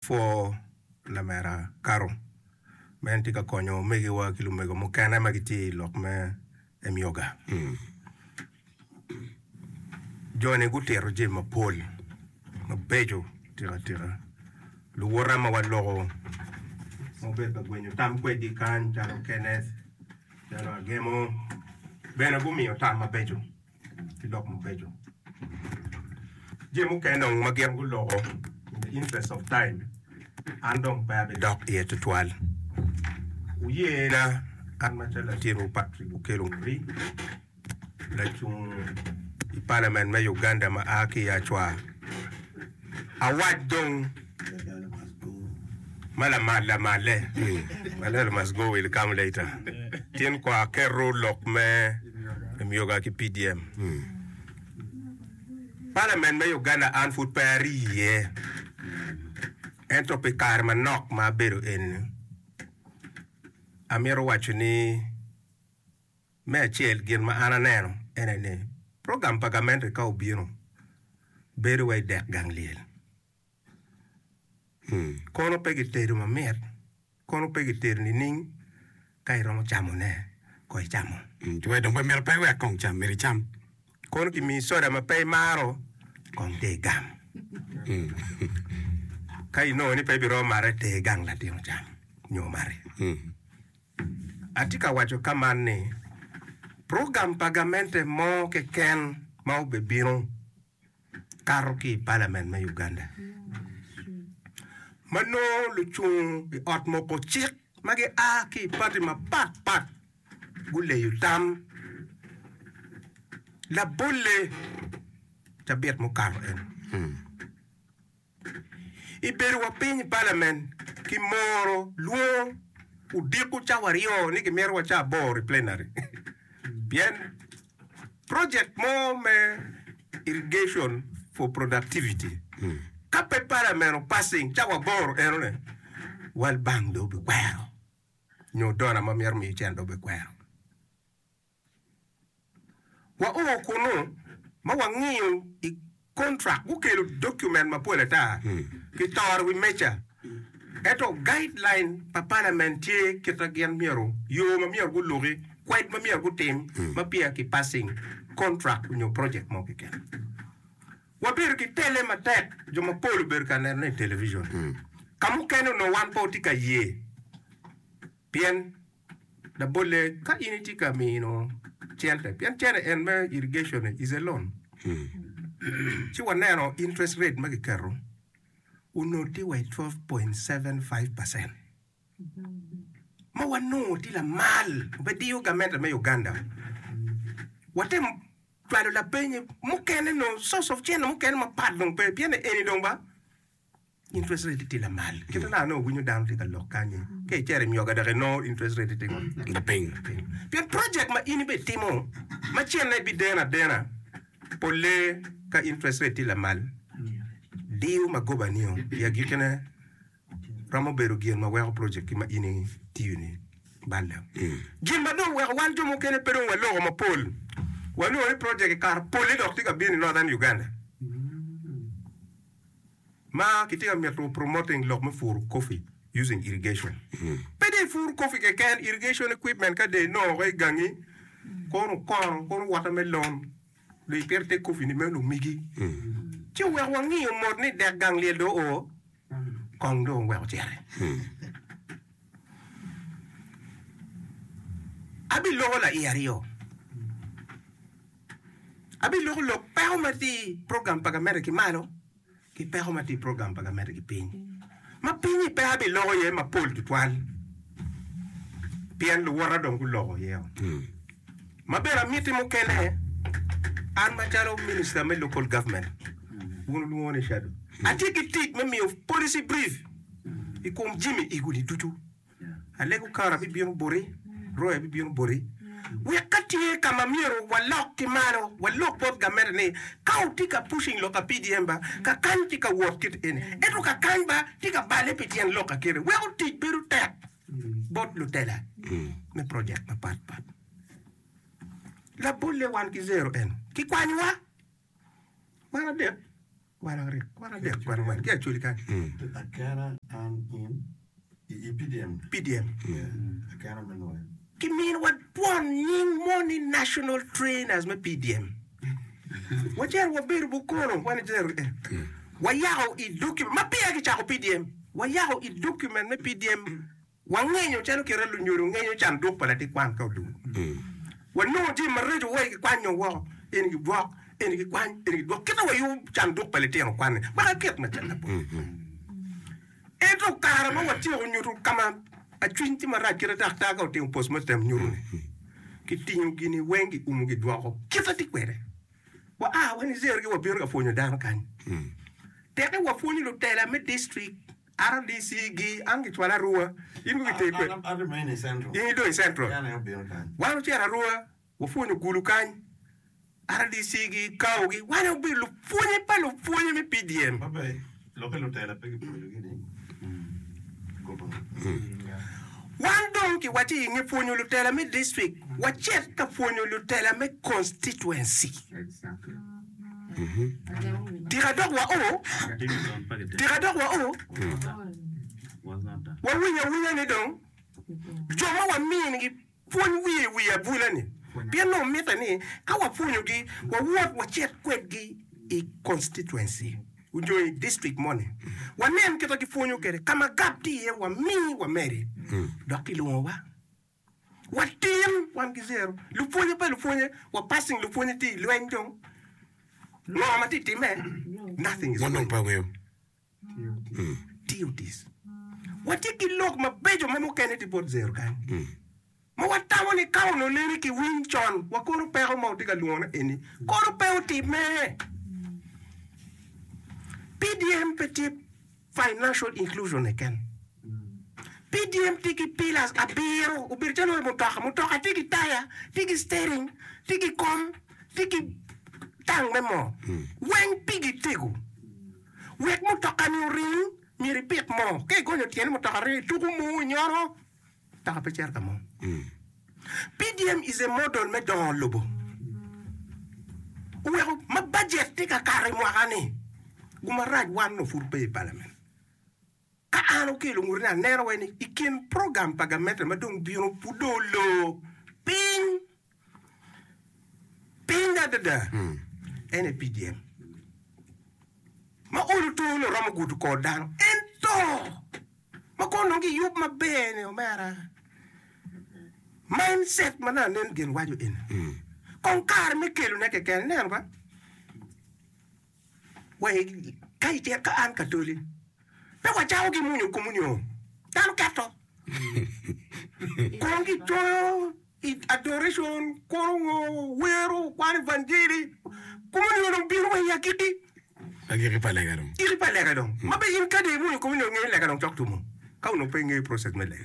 Pwo lamera Caro ma en tye ka konyo omegiwa ki lumego mukene ma gitye i lok me emyoga. Jo-ni gutito jami mapol mabeco atika tika. Luwota ma waloko ma wabedo ka gwenyo tam kwedgi kany calo Kenneth, calo Agemo bene gumiyo tam mabeco. ki lok mabeco. Jami mukene dong ma gin guloko in the interest of time an dong pe abidok iye tutwal. Wuyena an macalo latinwu Patrick Okello Ngori, lacung i Parliament me Uganda ma a ki i Acwa. Awac dong ma lamal lamalle, my letter must go will come later. Tin kwa aketo lok me Emyoga ki PDM. Parliament me Uganda an pud pe ari iye ento pi kare manok ma abedo eni amito waco ni Me acel, gin ma an aneno en aye ni program pa gamente ka obino bedo wai dek gang lyel. Kono pe gitedo mamit, kono pe gitedo nining ka iromo camone ko icamo. Wek dong pe myero pe iwek kong cam, myero icam. Kono gimiyi soda ma pe imaro, kong te igam. Ka inongo ni pe ibiromo mate, ter gang latin ocam nyo omati. Atye ka waco ka man ni, program pa gamente mo keken ma obebino kato ki i Parliament me Uganda ma nongo lucung i ot moko cik ma gia ki i pati mapat pat guleyo tam labolle cabit mukato eni. I bedo wa piny i palament ki moro lwongo odiko cawa aryo ni gimito wa ca aboro i plenary pien project mo me irrigation for productivity ka pe palament o passing cawa aboro enone World Bank dong obikwero nyo donor ma mito miyo cente obikwero. Wao kunnu ma wangiyo i kontrak, gukelo document mapol ata kitoro i wi meja. Ento guideline pa parliament tye kit ma gin myero, yo ma myero guluki, kwed ma myero gutim ma peya ki passing contract nyo project mo keken. Wabedo ki tele matek, jo mapol obedo ka nenone i television. Ka mukene onongo wan pe watye ka ye pien Labolle, ka in itye ka mino cente, pien cente en me irrigation-ni is a loan, ci waneno interest rate ma kiketo onongo tye wa i 12.75 percent ma wanongo tye lamal pe diyo gamente me Uganda. Watemo cwalo lapeny mukene nongo source of cente mukene mapat dong pe pien eni dong ba Interest rate tye lamal. Kit ma nongo winyo dano tye ka lok kany-nyi, ka icito i myoga dok inongo interest rate tye ngo? Lapiny. Pien project ma in ibitimo ma cente bideno adena, polle ka interest rate tye lamal, diyo magoba-nio i agikkine romo bedo gin ma weko project-ki ma in itiyo-ni balle. Gin ma dong weko wan jo mukene pe dong waloko mapol, wanongo ni project kikaro polle dok tye ka bino i Northern Uganda. Ma kitye ka mito promoting lok me puro coffee using irrigation. Pe dong ipur coffee keken, irrigation equipment ka dong inongo woko i gangi, kono okono, kono watermelon, dong ipito te coffee ni meno omigi. Ci oweko wangiyo mot ni dek gang lyel dong oo, kong dong oweko ociti. Abiloko laiye aryo. Abiloko lok peko ma tye i program pa gamente ki malo ki peko ma tye i program pa gamente ki piny. Ma pinyi pe abiloko iye mapol tutwal pien luwota dong guloko iye o. Ma bene amiti mukene, an macalo Minister me Local Government, wun wulwongo ni Shadow, atye ki tic me miyo policy brief i kom jami igoni ducu. Alego kara bibino boti, roya bibino boti, wek ka tye ka ma myero walok ki malo, walok bot gamente ni ka wutye ka pushing lok ka PDM ba, ka kany tye ka wot kit eni, ento ka kany ba tye ka bale pi tyen lok akite, weko tic bedo tek bot lutela me project mapat pat. Labolle wan ki zero en, kikwanyowa wan adek. Wan aryo, wan adek, wan angwen ki Acholi kany. Akena an in i PDM. PDM. Kiminiwa twon nying mo ni National Trainers me PDM. Wacito wabedo bukono, wan icito eh. Wayako i document, ma peya kicako PDM, wayako i document me PDM, wangenyo calo kite lunyodo ngenyo canduk pa latin kwan ka odwogo. Wanongo jami maraco wai kikwanyo woko, eni gidwok, eni gikwany, eni gidwok, kite wayubo canduk pa litino kwan-ni wek aket macalo labol. Ento kare ma watyeko nyuto ka ma acwiny tye marac kite daktar ka otimo postmortem nyuto ni kitingo gini weng giumo gidwoko kite tye kwede. Wa a wa Niger gi wabino ka pwonyo dano kany. Teke wapwonyo lutela me district, RDC gi an gicwala Arua in ko giteri kwede. In idong i Central. Wan ocito Arua wapwonyo Gulu kany. RDC gi kao gi wan aye obedo lupwonye pa lupwonye me PDM. Wan dong kiwacci i nge pwonyo lutela me district wacit ka pwonyo lutela me constituency. Tika dok wa o? Tika dok wa o? Wawinyo awinya ni dong jo ma waminigi Pwony wiye i wi abula-ni, pien nongo mitte ni ka wapwonyogi, wawot wacit kwedgi i constituency nyo i district moni, wanen kit ma gipwonyo kwede, ka ma gap tye iye wami wamedi, dok kilwongowa watin wan ki zero. Lupwonye pa lupwonye, wa passing lupwonye tye i lweny dong, ngo ma tye timme? Nothing is Wan dong going. pe wangeyo. Tiyo tic. Watye ki lok mabeco ma mukene tye bot zero kany ma watamo ni ka onongo nene kiwiny con wa kono peko ma watye ka lwongone eni kono pe otimme. PDM pe tye financial inclusion keken. PDM tye ki pillars abiro obedo calo mutoka, mutoka tye ki taya, tye ki steering, tye ki kom, tye ki tang me moo weng pigi tego. Wek mutoka-ni oring, myero ipit moo. Ka igonyo tyeni mutoka ringo, ituko moo inyono, mutoka pe cito ka mo. PDM is a model me dongo lobo. Oweko ma bajet tye ka kato i mwaka-ni, gumarac wan onongo pud pe i palament. Ka an okelo ngute ni aneno wai ni i kin program pa gamente ma dong bino pud dong olor piny piny adada en aye PDM ma olo to nongo romo gudo kor dano ento ma kono nongo giyub maber ni omera mindset ma nongo anen gin waco eni kong kare me kelone keken ineno ba. Wa i ka icito ka an katoli, pe wacako ki mwonyo komunio, dano keto. Kono gicoyo i adoration, kono ngo, wero, kwano evanjeli, komunio dong bino wa i agikki. Agikki pa lega dong. Agikki pa lega dong. Ma be in kadi imwonyo komunio ingeyo ni lega dong cok tumo, ka onongo pe ingeyo process me lega.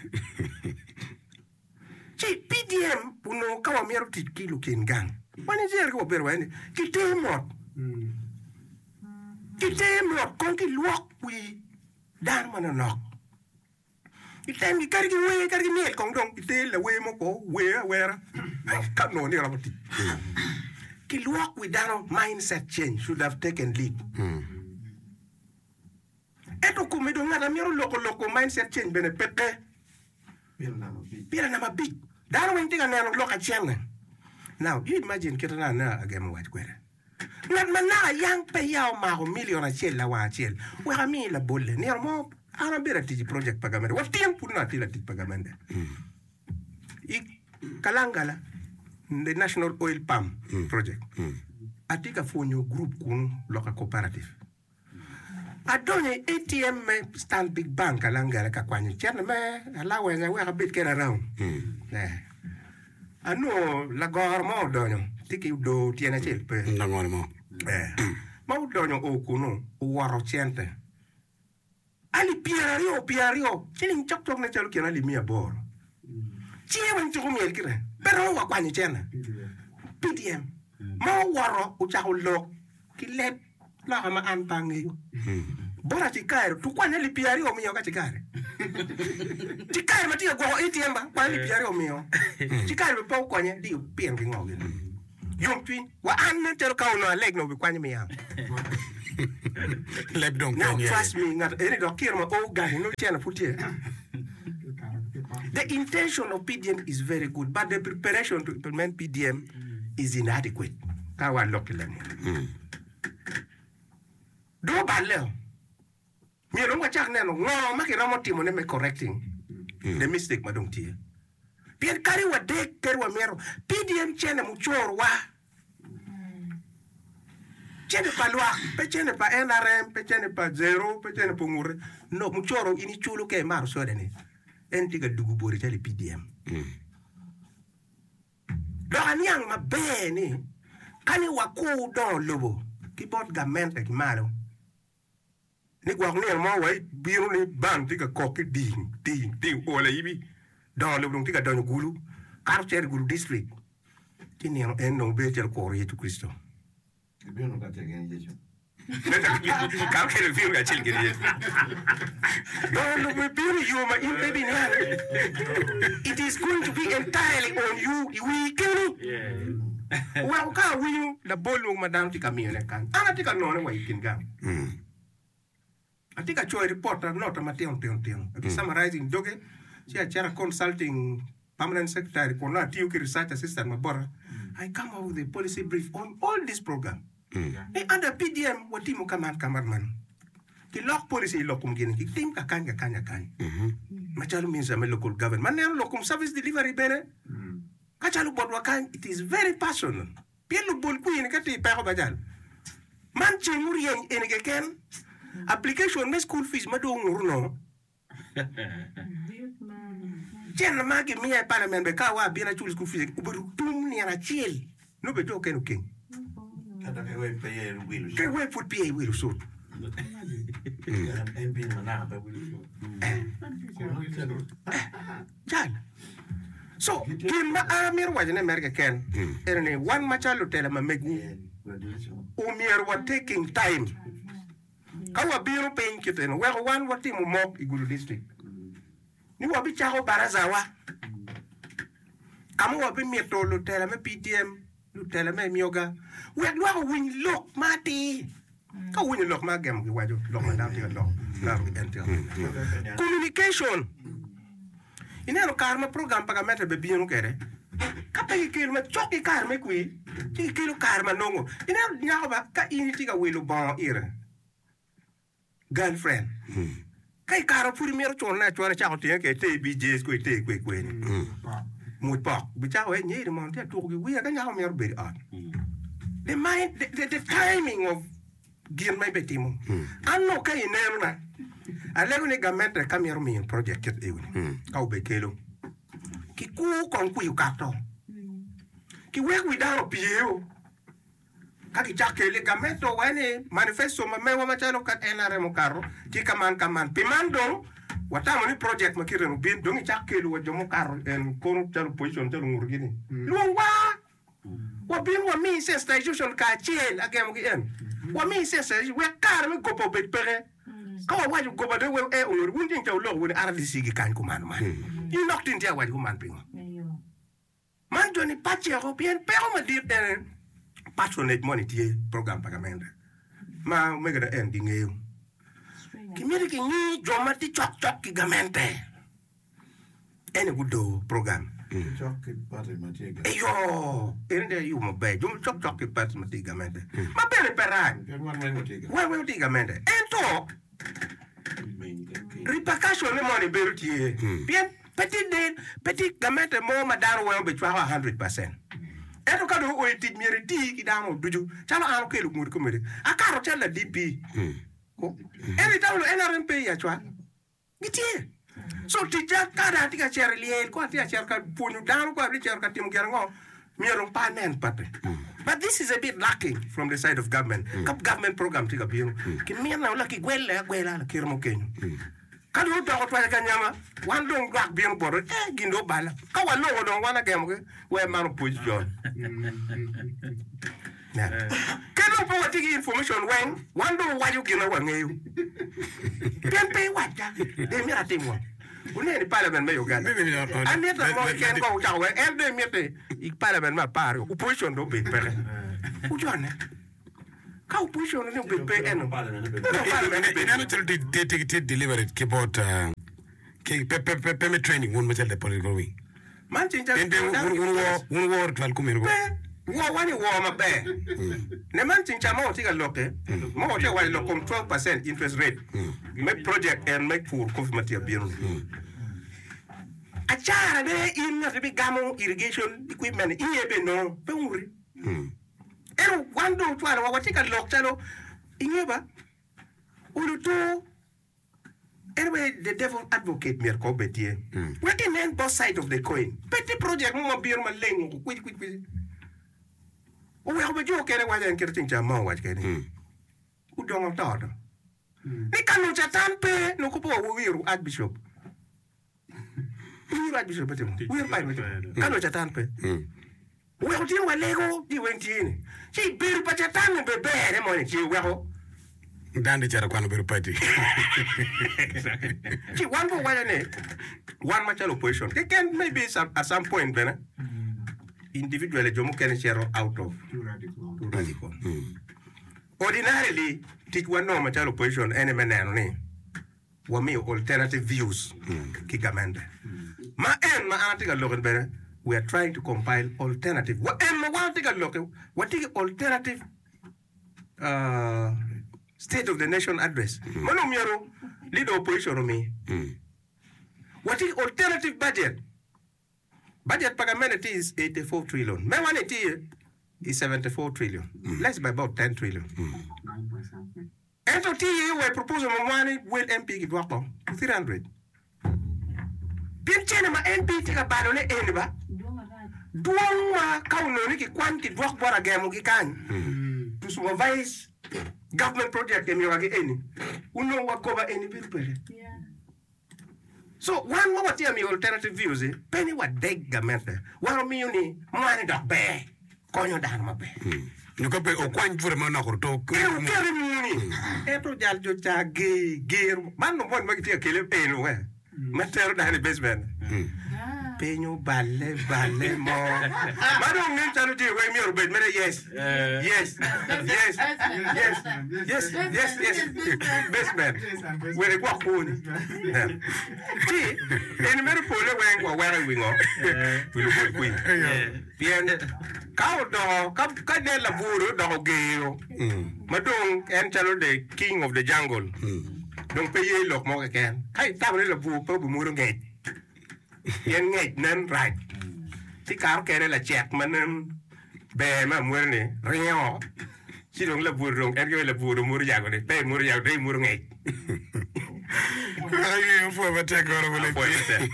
Ci PDM onongo ka wamito tic ki lukin gang, wan icito ki wabedo waye ni kiter mot, kiter mot kong kilwok wi dano manonok itemgi kadi ki wer kadi ki myel kong dong kiter lawer mo ko wer awera ka onongo ni romo tic kilwok wi dano mindset change should have taken lead. Ento kome dong ngat a mito loko loko mindset change bene peke. Pira namba abic. Dano weng tye ka neno lok acel-le. Now you imagine kite na anena agemo wac kwede. Ngat ma naka yang pe ya omako million acel lawang acel. Wek ami labolle. Nino mo an abedo atic i project pa gamente. Wa tin pud nongo atye latic pa gamente. I Kalangala, the National Oil Palm Project, atye ka pwonyo group kunu loka cooperative. Adonyo i ATM me Stanbic Bank Kalangala ka kwanyo cente me allowance wek abed kede around. Anongo lagoro mo odonyo tye ki odoo tyene acel pe. Langolo mo. Ma odonyo o kunu owoto cente. Alip pyeraryo pyeraryo, ciling cokcok nen calo kin alip miya aboro. Cinge weng tuko myel kite, pe romo wa kwanyo cente. PDM ma owoto ocako lok ki leb loka ma an pe angeyo. Bot acikari, tuk kwany alip pyeraryo omiyo ka cikari. Cikari ma tye ka gwoko ATM ba, kwany alip pyeraryo omiyo. Cikari bene pe okonye, di pien ki ngo gini. Yomcwiny, wa an nen calo ka onongo aleg nongo obikwanyo miya. Leb dong Now pe nyer. trust me, ngat eni dok kiro ma o gangi nongo cene pud tye. The intention of PDM is very good but the preparation to implement PDM is inadequate. Ka wan lok ki leb munu. Dong oballe o. Myero dong wacak neno ngo ma kiromo timone me correcting the mistake ma dong tye. Pien kadi wadek kadi wamito, PDM cene mucoro wa. Cene pa lwak, pe cene pa NRM, pe cene pa Zero, pe cene pa Ongute. No, mucoro in iculo ka imato soda ni, en tye ka dugo boti calo i PDM. Dok aniang maber ni ka ni wakur dongo lobo ki bot gamente ki malo, Ni gwok nino mo wa ibino ni band tye ka kok ki ding ding ding ol ayibi dongo lobo dong tye ka donyo gulu kato cito i gulu district ci nino en dong bedo calo kuro Yecu Kricito. Ibino kacel gin Yecu. Kato kede ibino kacel gin Yecu. Dongo lobo ibino i yo ma in pe ibiniang. It is going to be entirely on you i wii keni. Oweko ka awinyo labol mogo ma dano tye ka miyone kany, an atye ka none wa i kin gang. Atye ka coyo ripot nota matino tino tino, abi summarizing doge ci acito a consulting permanent secretary kun nongo atiyo ki research assistant ma bota, I come up with a policy brief on all this program. Ni under PDM watimo ka man ka man man. Kilok policy i lok kom gini, kitim kakany kakany kakany macalo minister me local government ma neno lok kom service delivery bene. Ka calo botwa kany it is very personal pien lubol kwir ni ka tye i peko ba jal man ceng oryeny eni keken application me school fees ma dong ongut onongo cene ma gimiya i parliament bene ka wa abino acul school fees obedo tum nino acel nongo bene jo okene okeng Ento ke wek pe ye wilo ke wek pud peya iwilo cut. MP ma naka pe wilo cut. Jal. So, gin ma an amito wacone mere keken ene ni wan macalo lutela ma megwu omyero wa taking time ka wabino piny kit eno weko wan watimo mok i Gulu district ni wabicako baraza wa ka ma wabimito lutela me PDM Lutela me myoga, wek lwak owiny lok ma atir. Ka wuwinyo lok ma agemo giwaco, lok ma dano tye ka loko, laro ki en tye ka waco. Communication. Ineno kare ma program pa gamente be bino kwede, ka pe kikelo macok ki kare me kwir, ci kikelo kare ma nongo. Ineno nyako ba, ka in itye ka wilo bongo ire, Girlfriend, Ka i kare ma pud imito culone acula icako tinge kwede ite i BJ's kong ite kwe kwe ni mwoc pok bicako wai nyeri mono tye atuko ki wiya ka nyako mito bedo i ot. The mind, the, the, the timing of gin ma ibitimo. An nongo ka ineno na alego ni gamente ka mito miyo project kit eo ni ka obekelo kikur kong kwi okato kiwek wi dano opyeo. Ka kicako kele, gamente owaco ni manifesto ma mewa macalo ka NRM okato tye ka man ka man. Pi man dong watamo ni project ma kite ni obin dong icak kelo wa jo mukato en kono calo opposition calo ongutogi ni lwongwa wabin wami sensitization kacel agemo ki en wami sensitization wek kare me goba obed peke. Ka wawaco goba dong wek ee ongut wun ceng ca wuloko wun ni RDC gikany kuman man. In dok tin tye awaco kuman pingo? Man joni paceko pien peko madit ene patronage moni tye program pa gamente ma omege na en gingeyo. Kimito kingi jo ma tye cok cok ki gamente ene gudor program. Cok ki party ma tye i gamente. Eyo, ene dong ayubo maber jo ma cok cok ki party ma tye i gamente ma bene pe rac. Pien wan weng watye i gamente. Wan weng watye i gamente ento Repercussion ne moni bedo tye pien pe tye del pe tye gamente mo ma dano weng obicwako a hundred percent ento ka dong oo i tic myero iti ki dano ducu calo an okelo ngut komedi akato calo la DP ento itamo ni NRM pe i acwal gitye So ticca ka dong atye ka cito i lyel, kong atye ka cito ka pwonyo dano, kong atye ka cito ka timo gin ango, myero dong pe anen pate. But this is a bit lacking from the side of government. Ka government program tye ka bino, kimine wala kigwele agwela lakite mo kenyo. Ka dong odoko twanya ka nyama, wan dong lwak bino botwa, eh gin dong obala. Ka walongo dong wan agemogi, wek man opwony John. Ka dong pe watye ki information weng, wan dong wawaco gin ma wangeyo. Pien pe iwacca, dong imito atim ngo? Wuneno i parliament me Uganda, Anita mo keken kong ocako weng, en dong imiti i parliament me apar-ri, opposition dong obed peke. Wujone. Ka opposition ni obed pe eno, Ineno calo tye deliberate ki bot pe me training wun macalo the political wing. Man ceng ca Pien wun wuworo twal kumeno Pe, wowa ni woo maber. Ne man ceng ca ma watye ka lokke, ma watye ka waco lok kom 12% interest rate me project en me pur kofi ma tye ka bino ni. Acara ne in ngat ibigamo irrigation equipment ni iye bene nongo pe onguti. Ento wan dong ocwalowa watye ka lok calo inge ba olo tur en aye the devil advocate myero kong obed tye wek inen both side of the coin pe tye project mo ma bino maleng woko kwici kwici kwici oweko bene jo okene waco en kite ceng ca ma owaco kene ni odongo oto to ni ka nongo catan pe nongo pe wawiro archbishop Wiro Archbishop me timo? Wiro Pai me timo? Ka nongo Catan pe, weko tye walego ji weng tye ni, ci bedo pa Catan ni be ber-re moni ci weko. Dano tye cito kwano bedo padi. Ci wan bene wawaco ni wan macalo opposition keken maybe at some point bene individually jo mukene cito out of too radical. Ordinarily ticwa nongo macalo opposition ene me neno ni wamiyo alternative views ki gamente. Ma en ma an atye ka lok-ni bene we are trying to compile alternative wa en ma wan watye ka lok-ki watye ki alternative state of the nation address ma nongo myero leader of opposition omi. Watye ki alternative budget. Budget pa gamente tye i 84 trillion mewa ni tye i 74 trillion less by about 10 trillion. Ento tye iye wa i proposal ma mwa ni wel MP gidwoko to 300. Pien cene ma MP tye ka balo ne eni ba dwong ma ka onongo ni kikwany kidwok bot agemo gi kany to supervise government project emiyowa gi eni onongo wa goba eni bedo peke. So wan ma watye ka miyo alternative views ni pe ni wadeg gamente, wan wamiyo ni mwa-ni dok ber, konyo dano maber. Nyo ka pe okwany bute manok oruto. Ee oket i muni, ento jal jo ca ger, ger, man lumony ma gitye ka kele eno we, ma tero dano i basement. Piny oballe balle mo ma dong nen calo jami weng myero obed mere yes, yes, yes, yes, yes, yes, yes, basement wek igwok kwoni. Nen. Ci eni mere pole weng waweko i wi ngo? Wi lubol kwir. Pien ka odoko ka ka nen labwor odoko gero ma dong en calo the king of the jungle dong pe ye lok mo keken. Ka itamo ni labwor pe obimwodo ngec pien ngec nen rac ci kare okene lacek ma nen ber me amwoda ni ringo ci dong labwor dong en kome labwor dong mwodo yago ni pe imwodo yago dong imwodo ngec. Apwoyo matek Apwoyo matek.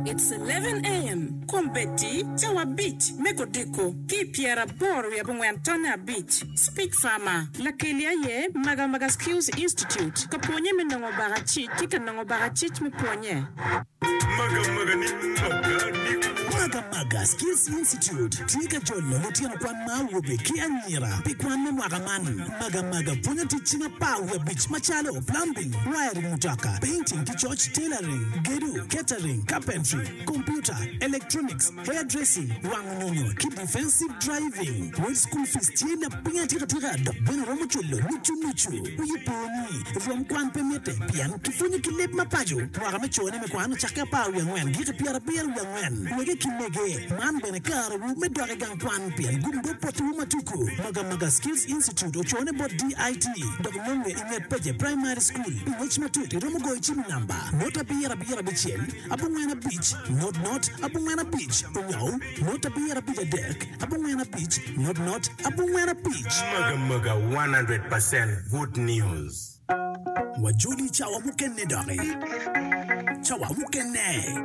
It's 11 AM, Kombeddi, cawa abic me kodiko ki i pyeraboro wiye abongwen tonne abic. Speech Farmer, Lakeli aye Maga Maga Skills Institute, ka pwonye me nongo bakacic ki ka nongo bakacic me pwonye. Maga Maga Skills Institute tye ka jolo lutino kwan ma awobe ki anyira pi kwan me mwaka man. Maga Maga pwonyo tic cing 15 macalo, plumbing, wiring mutoka, painting ki coc, tailoring, gedo, catering, carpentry, computer, electronics, hair dressing, wango nyonyo ki defensive driving. Wel school fees tye lapiny atika tika dok bene romo culo nucu nucu. Wiyi po ni, rwom kwan pe mitte pien kipwonyo ki leb ma paco. Mwaka me cone me kwan ocakke 14 giki 74. Wege ki mege, man bene karewu me dok i gang kwan pien gum dog potiwu ma tuku. Magamaga Skills Institute ocone bot DIT dok nonge i nget Peje Primary School. Pi ngec matut iromo goyo cim i namba, 0 7 6 9 5 0 0 9 5 onyo 0 7 5 3 9 5 0 0 9 5. Magamaga 100% good news. Wajoli cawa mukene doki. Cawa mukene.